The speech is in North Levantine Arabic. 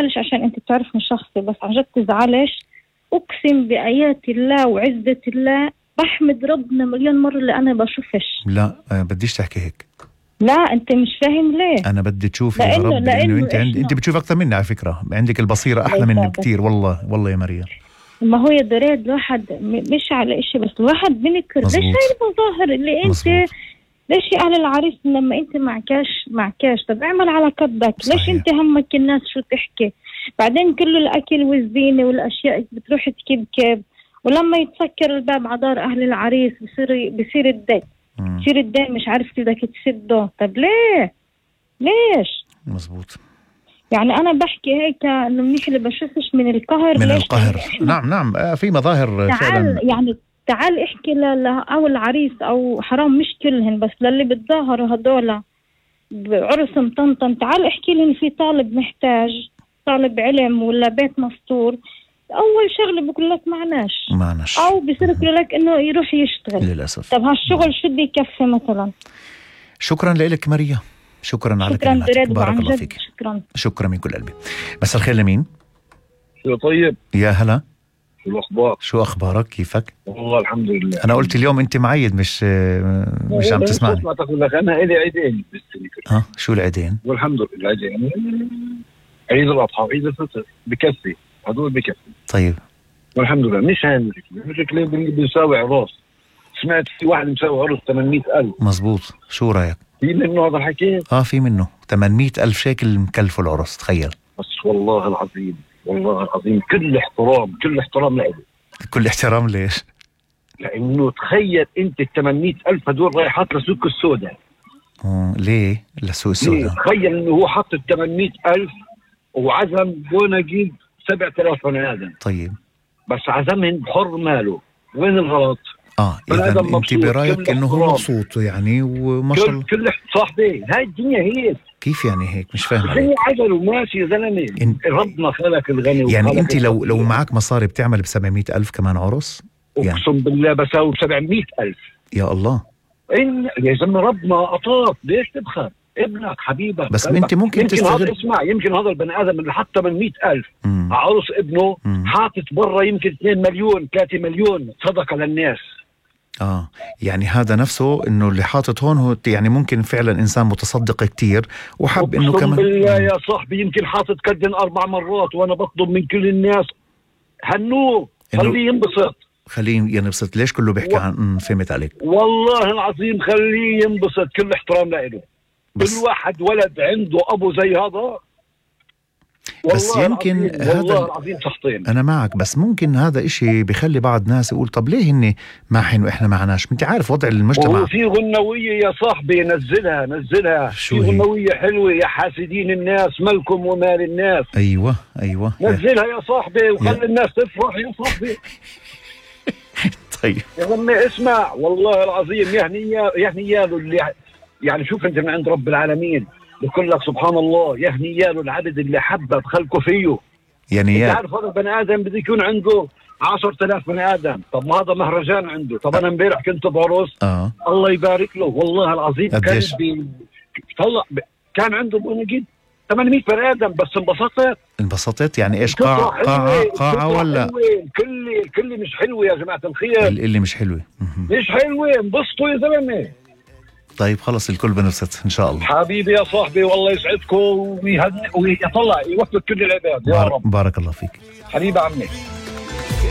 بزعلش عشان انت بتعرفني شخصي، بس عن جد تزعلش. اقسم بآيات الله وعزة الله بحمد ربنا مليون مرة اللي انا بشوفش. لا بديش تحكي هيك. لا انت مش فاهم ليه. انا بدي تشوفي يا رب، لانه انت بتشوف اكثر مني على فكرة، عندك البصيرة احلى مني بكتير. والله يا مريم. ما هو يا دريد الواحد مش على اشي، بس الواحد بنكر ليش هاي المظاهر اللي انت مزبوط. ليش على العريس لما انت معكاش طب اعمل على قدك. ليش انت همك الناس شو تحكي؟ بعدين كل الاكل والزينة والاشياء بتروح تكبكب، ولما يتسكر الباب على دار اهل العريس بصير الدين. بصير الدين مش عارف كيف بدك تسده. طب ليش مزبوط. يعني أنا بحكي هيك إنه منيح اللي بشوفش من القهر. من القهر نعم في مظاهر فعلا. يعني تعال احكي أو العريس أو حرام مش كلهن، بس للي بتظاهروا هدول بعرس مطنطن، تعال احكي لهم في طالب محتاج، طالب علم ولا بيت مستور، أول شغلة بقول لك معناش أو بيصير يقول لك إنه يروح يشتغل للأسف. طب هالشغل شو بده يكفي مثلا؟ شكرا لك مريم، شكرا على كلماتك، بارك الله فيك. شكرا من كل قلبي. مساء الخير لمين؟ شو طيب؟ يا هلا، شو الأخبار؟ شو أخبارك؟ كيفك؟ والله الحمد لله. أنا قلت اليوم أنت معيد مش عم تسمعني. ما تقول لك أنا إلي عيدين بالسنة. شو العيدين؟ والحمد لله العيدين، عيد الأضحى وعيد الفطر بكفي، هدول بكفي. طيب والحمد لله. مش هاي المشكلة بيساوي عراس. سمعت في واحد مساوي عرس 800,000. مزبوط، شو رأيك؟ في منه هذا الحكي؟ في منه 800,000 شيكل مكلفه العرس، تخيل. بس والله العظيم كل احترام له. كل احترام ليش؟ لأنه تخيل أنت 800,000 هدول رايحات لسوق السوداء. ليه لسوق السوداء؟ تخيل إنه هو حط 800,000 وعزم بونجيب 7,000 بني آدم. طيب بس عزمهم بحر ماله، وين الغلط؟ إذا أنت برأيك إنه هو مبسوط يعني وما شاء الله. كل صاحبي هاي الدنيا هيك. كيف يعني هيك؟ مش فاهم عليك. هي عجل وماشي يا زلمة. ربنا خلق الغني يعني أنت لو معك مصاري بتعمل ب700,000 كمان عرس؟ يعني أقسم بالله بساوي ب700,000. يا الله. يا زلمة ربنا أعطاك، ليش تبخل؟ ابنك حبيبك. بس انت ممكن تستغل. اسمع، يمكن هذا البني ادم اللي حط 800,000 على عروس ابنه حاطط برا يمكن 2 مليون 3 مليون صدقه للناس. يعني هذا نفسه انه اللي حاطط هون هو يعني ممكن فعلا انسان متصدق كتير وحب انه كمان. بالله يا صاحبي يمكن حاطط كدن 4 مرات، وانا بطلب من كل الناس هنوه خليه ينبسط. ليش كله بيحكي عن فهمت عليك؟ والله العظيم خليه ينبسط، كل احترام له. كل واحد ولد عنده ابو زي هذا. بس يمكن والله العظيم شخطين. انا معك، بس ممكن هذا اشي بيخلي بعض ناس يقول طب ليه هن معهن واحنا معناش؟ انت عارف وضع المجتمع. وفي غنوية يا صاحبي نزلها في غنوية حلوة يا حاسدين الناس مالكم ومال الناس. ايوه نزلها يا صاحبي وخلي الناس تفرح يا صاحبي. طيب يا عمي اسمع، والله العظيم يهني اللي يعني شوف انت من عند رب العالمين بقول لك سبحان الله، يهني العبد اللي حبب خلقه فيه. يعني انت عارف هذا البني ادم بده يكون عنده 10,000 بني ادم، طب ما هذا مهرجان عنده. طب انا امبارح كنت بعرس الله يبارك له والله العظيم كان عنده بونجيد 800 بني ادم، بس انبسطت. يعني ايش قاعة ولا كل مش حلوة يا جماعة الخير. اللي مش حلوة انبسطوا يا زلمة. طيب خلص الكل بنبسط ان شاء الله. حبيبي يا صاحبي والله يسعدكم ويطلع يوفق كل العباد يا رب. بارك الله فيك حبيبي عمي.